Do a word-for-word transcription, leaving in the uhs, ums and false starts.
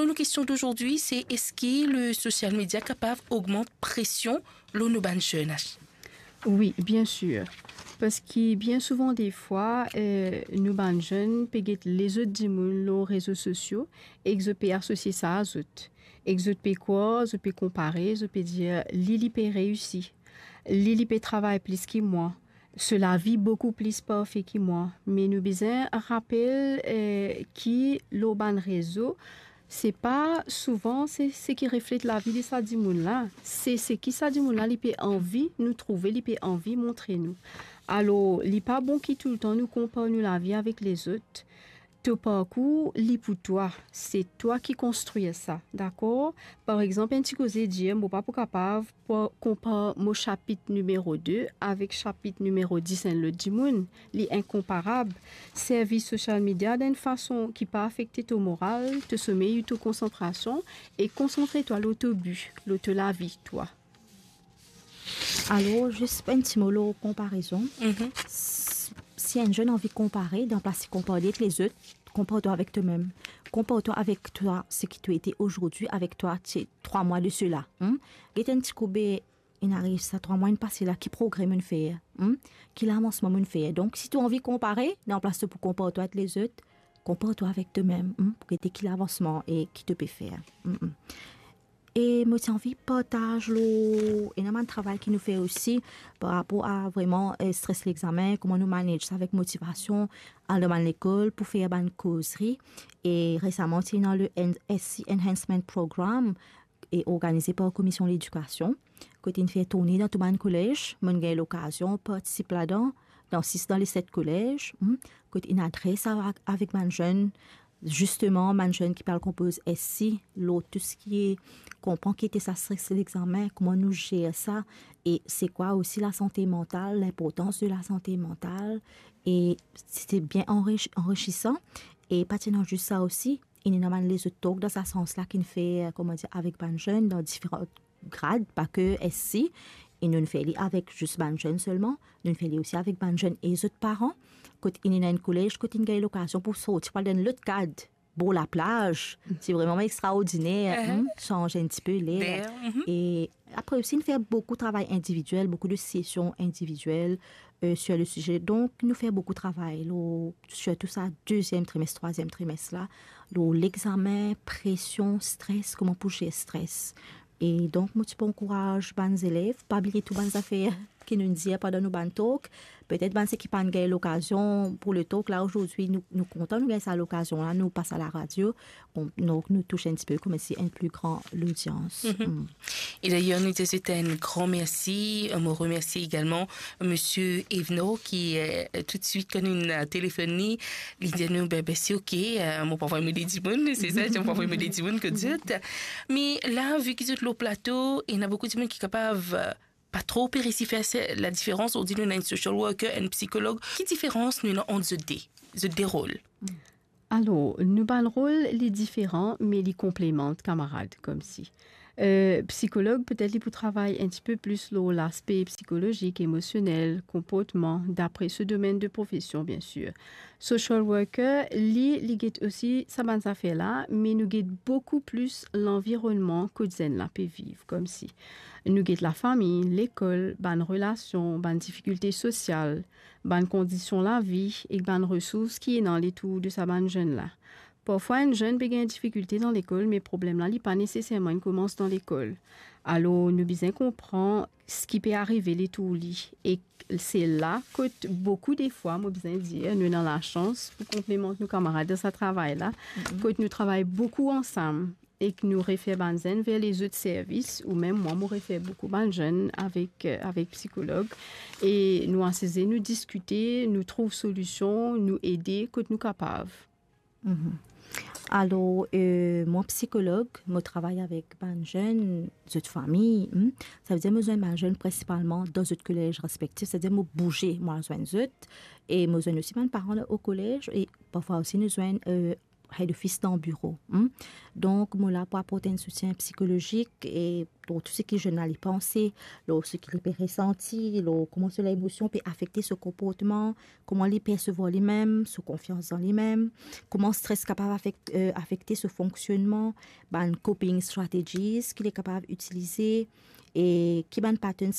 Nou kestion d'aujourd'hui, se eski le social media kapav ogmant presion lor nou bann zenn? Wi, bien sir. Parski bien souvan defwa, eh, nou bann zenn pe get lezot dimoun lor rezo sosio ek zot pe asosie sa a zot. Ek zot pe krwar, zot pe konpare, zot pe dir, "Li, li pe reisi. Li, li pe travay plis ki mwa. So lavi boukou plis parfe ki mwa." Me nou bizin rapel, eh, ki lor bann rezo, se pa souvan se, seki reflet lavi de sa dimoun la. Se seki sa dimoun la, li pe anvi nou trouve, li pe anvi montre nou. Alor, li pa bon ki toultan nou konpar nou lavi avek lezot. To parkour, li pou twa. Se twa ki konstrir sa, dakor? Par exanp, enn ti koze dir, mo pa pou kapav pou konpar mo sapit nimero de avek sapit nimero dis enn lot dimoun. Li inkonparab. Servi social media dan enn fason ki pa afekte to moral, to somey ou to konsantrasion, e konsantre twa lor to bi, lor to lavi, twa. Alor, zis enn ti mo lor konparezon. Mhm. S-, si enn zenn anvi konpare, dan plas li konpar li ek lezot, konpar twa avek twa mem. Konpar twa avek twa, seki to ete azordi, avek twa, ti trwa mwa de sela. Hmm? Get enn ti koube inn ariv sa trwa mwa inn pase la, ki progre mo'nn fer, hmm? Ki lavansman mo'nn fer. Donk, si to anvi konpare, dan plas to pou konpar twa ek lezot, konpar twa avek to mem, hmm? Pou gete ki lavansman e ki to pe fer. Hmm, hmm. E mo ti anvi partaz lor ena bann travay ki nou fer osi par rapor a vreman, eh, stres lexamen, kouma nou manage sa avek motivasion, al dan bann lekol pou fer bann kozri. E resaman, ti ena le N-, S C Enhancement Program, e organize par Komision Ledikasion, kot inn fer tourne dan tou bann kolez. Mo'nn gagn lokazion partisip ladan, dan sis dan le set kolez, hmm, kot inn adres avek, avek bann zenn, zisteman, bann zenn ki pe al konpoz S C, lor tou seki konpran ki ete sa stres lexamen, kouma nou zer sa, e se kwa osi lasante mantal, linportans de lasante mantal, e se bien anri-, anrisisan. E pa ti ena zis sa osi, inn ena bann lezot talk dan sa sans la ki'nn fer, kouma dir, avek bann zenn dan diferan grad, pa ke S C, e nou'nn fer li avek zis bann zenn selman, nou'nn fer li osi avek bann zenn e zot paran, kot inn ena enn kolez, kot inn gagn lokazion pou sorti, pou al dan enn lot kad, bor laplaz. Se vreman extraordiner, mhm, hmm, sanz enn tipe ler. Ler, mhm. E apre osi, nou fer boukou travay individiel, boukou de sesion individiel, euh, sur le sujet. Donk, nou fer boukou travay lor, sirtou sa deziem trimes, trwaziem trimes la, lor lexamen, presion, stres, kouma pou zer stres. E donk, mo ti pou ankouraz bann zelev, pa bliye tou bann zafer ki nou dir pandan nou bann talk. Petet bann seki pa'nn gagn lokazion pou le talk la azordi, nou, nou kontan nou gagn sa lokazion la, nou pas a laradio, bon, donk nou tous enn tipe koumsi enn pli gran lodians. Mhm. Hmm. E dayer, nou dir zot enn gran mersi. Mo remersie egalman Misie Evenor ki, euh, toutswit kan nou, euh, telefonn li, li dir nou, "Be, be, se ok, euh, mo pou avoy mo de dimoun," se sa, mo pou avoy mo de dimoun kot zot. Me la, vi ki zot lor plato, ena boukou dimoun ki kapav, euh, pa tro pe resi fer se, ladiferans, nou dir nou ena enn social worker, enn psikolog. Ki diferans nou ena ant zot de, zot de rol? Alor, nou bann rol, li diferan, me li konplemant kamarad, koumsi. Euh, psikolog, petet li pou travay enn tipe plis lor laspe psikolozik, emosionel, konportman, dapre so domenn de profesion, bien sir. Social worker, li, li get osi sa bann zafer la, me nou get boukou plis lanvironnman kot zenn la pe viv, koumsi. Nou get lafami, lekol, bann relasion, bann difikilte sosial, bann kondision lavi ek bann resours ki ena letour de sa bann zenn la. Parfwa, enn zenn pe gagn difikilte dan lekol, me problem la, li pa neseserman inn koumans dan lekol. Alor, nou bizin konpran seki pe arive letour li. Ek se la kot boukou defwa, mo bizin dir, nou ena lasans pou konplemant nou kamarad dan sa travay la, mhm, kot nou travay boukou ansam. Ek nou refer bann zenn ver lezot servis, ou mem mwa, mo refer boukou bann zenn avek, euh, avek psikolog. E nou asize, nou diskite, nou trouv solision, nou ede kot nou kapav. Mhm. Alor, euh, mwa psikolog, mo travay avek bann zenn, zot fami, hmm. Savedir mo zwenn bann zenn prinsipalman dan zot kolez respektif, savedir mo bouze, mo al zwenn zot, e mo zwenn osi bann paran o kolez, e parfwa osi nou zwenn, euh, head office dan biro. Hmm? Donk, mo la pou aport enn soutien psikolozik e lor tou seki zenn la li panse, lor seki li pe resanti, lor kouma so lemosion pe afekte so konportman, kouma li persevwar limem, so konfians dan limem, kouma stres kapav afek-, eh, afekte so fonksionnman, bann coping strategies ki li kapav itilize, e ki bann patterns